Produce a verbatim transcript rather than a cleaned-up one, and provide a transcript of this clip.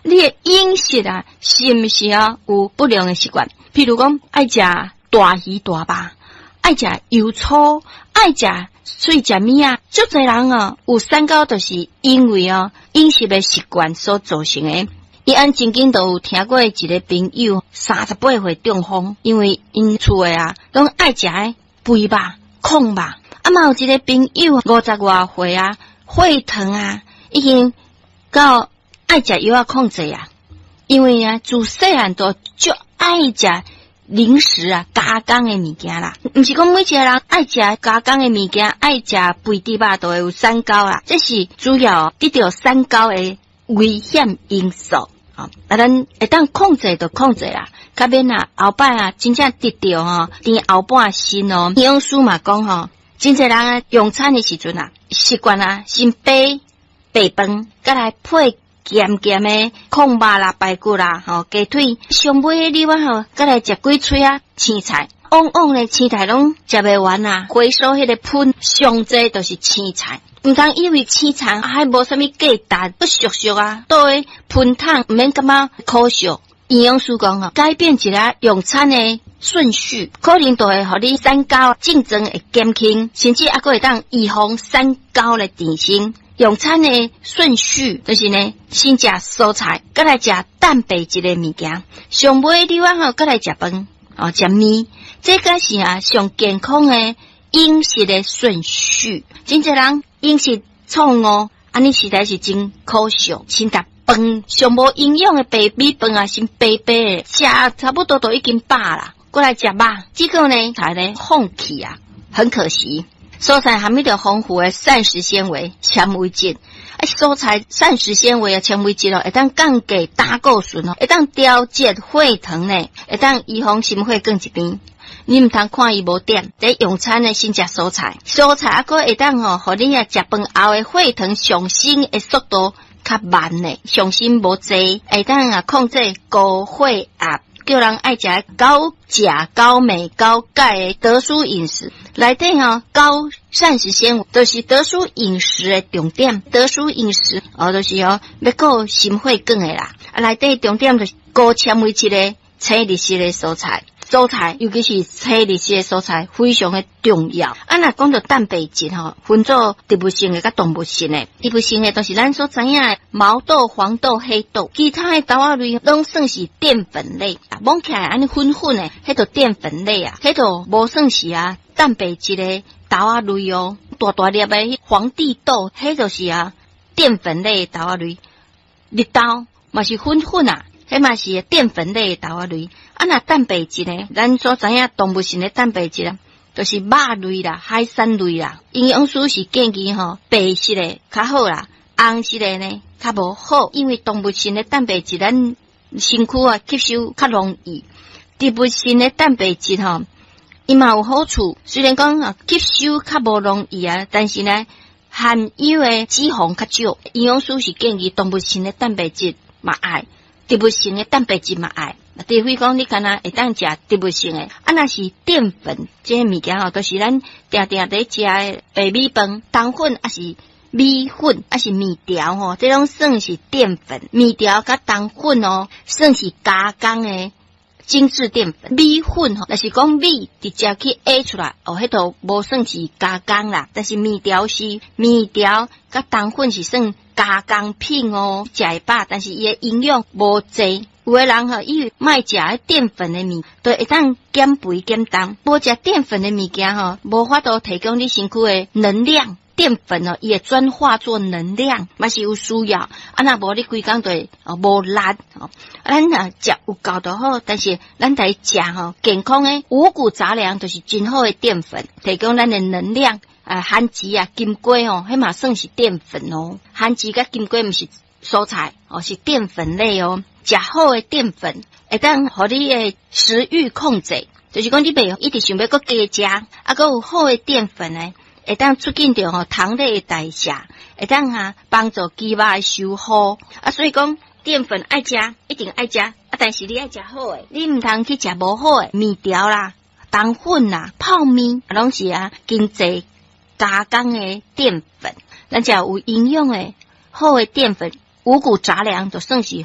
你的飲食啊，是毋是啊有不良的習慣？譬如講，愛食大魚大肉，愛食油粗，愛食碎食物啊，足濟人哦有三高，就是因為哦飲食的習慣所造成的。伊按曾經都有聽過一個朋友三十八歲中風，因為𪜶厝的啊，攏愛食的肥肉、炕肉。啊嘛有一個朋友五十外歲啊，血糖啊已經到愛食藥仔控制啊，因為啊自細漢都足愛食零食啊，加工的物件啦，毋是講每一個人愛食加工的物件，愛食肥豬肉都會有三高啦。這是主要得著三高的危險因素。啊，咱會當控制就控制啦，較免啊後擺啊真正得著吼甜後半身哦。營養師嘛講吼，真濟人啊用餐的時陣啊，習慣啊先白白飯，閣來配鹹鹹的炕肉啦、排骨啦、吼雞腿，上尾你我吼，閣來食幾喙仔青菜，往往咧青菜攏食袂完啊，回收彼個盆上濟就是青菜。毋通以為青菜還無啥物價值，閣俗俗啊，倒佇盆桶毋免感覺可惜。營養師講吼，改變一下用餐的順序，可能就會予你三高症狀會減輕，甚至猶閣會當預防三高的產生。用餐的順序就是呢，先食蔬菜，閣來食蛋白質的物件，上尾你我吼閣來食飯，哦，食麵，這個是啊上健康的飲食的順序。真濟人飲食錯誤，按呢實在是真可惜。先食飯，上無營養的白米飯啊，先白白的，食差不多都已經飽啦，閣來食肉，這個呢才咧放棄啊，很可惜。蔬菜含著豐富的膳食纖維、纖維質。啊，蔬菜膳食纖維啊，纖維質哦，會當降低膽固醇哦，會當調節血糖呢，會當預防心血管疾病。你毋通看伊無點，佇用餐呢先食蔬菜，蔬菜猶閣會當吼，予你啊食飯後的血糖上升的速度較慢呢，上升無濟，會當啊控制高血壓。叫人愛食高鉀、高鎂、高鈣的得舒飲食，內底吼高膳食纖維，就是得舒飲食的重點。得舒飲食哦，就是哦欲顧心血管的啦。啊，內底重點就是高纖維質的青綠色的蔬菜。蔬菜，尤其是青綠色的蔬菜，非常的重要。啊，若講著蛋白質吼，分做植物性的佮動物性的。植物性的都是咱所知影的毛豆、黃豆、黑豆，其他的豆仔類攏算是澱粉類。啊，摸起來按呢粉粉的，彼就澱粉類啊，彼就無算是啊蛋白質的豆仔類哦。大大粒的皇帝豆，彼就是啊澱粉類的豆仔類。綠豆嘛是粉粉啊。彼嘛是澱粉類的豆仔類，啊，若蛋白質呢？咱所知影動物性的蛋白質啊，就是肉類啦、海產類啦。營養師是建議吼，白色的較好啦，紅色的呢較無好，因為動物性的蛋白質咱身軀啊吸收較容易。植物性的蛋白質吼，伊嘛有好處，雖然講啊吸收較無容易啊，但是呢含有的脂肪較少。營養師是建議動物性的蛋白質嘛愛。植物性的蛋白質嘛愛，除非講你敢若會當食植物性的，啊，若是澱粉這个物件吼，就是咱定定佇食的白米飯、冬粉，抑是米粉，抑是麵條吼，這攏算是澱粉。麵條佮冬粉哦，算是加工的精緻澱粉。米粉吼，若是講米直接去壓出來，哦，彼就無算是加工啦。但是麵條是麵條佮冬粉是算加工品哦，食會飽，但是伊的營養無濟。有的人吼，以為莫食彼澱粉的物，就會當減肥減重。無食澱粉的物件吼，無法度提供你身軀的能量。澱粉哦，伊會轉化做能量，嘛是有需要。啊，若無你規工就會哦無力哦。咱若食有夠就好，但是咱得食吼健康的五穀雜糧，就是真好的澱粉，提供咱的能量。啊，番薯啊、金瓜吼，彼嘛算是澱粉哦。番薯佮金瓜毋是蔬菜哦，是澱粉類哦。食好的澱粉，會當予你的食慾控制，就是講你袂一直想欲閣加食，啊，閣有好的澱粉呢，會當促進著吼糖類的代謝，會當啊幫助肌肉的修復。啊，所以講澱粉愛食，一定愛食，啊，但是你愛食好的，你毋通去食無好的麵條啦、冬粉啦、泡麵，攏是啊經濟加工的澱粉。咱食有營養的好的澱粉，五穀雜糧就算是。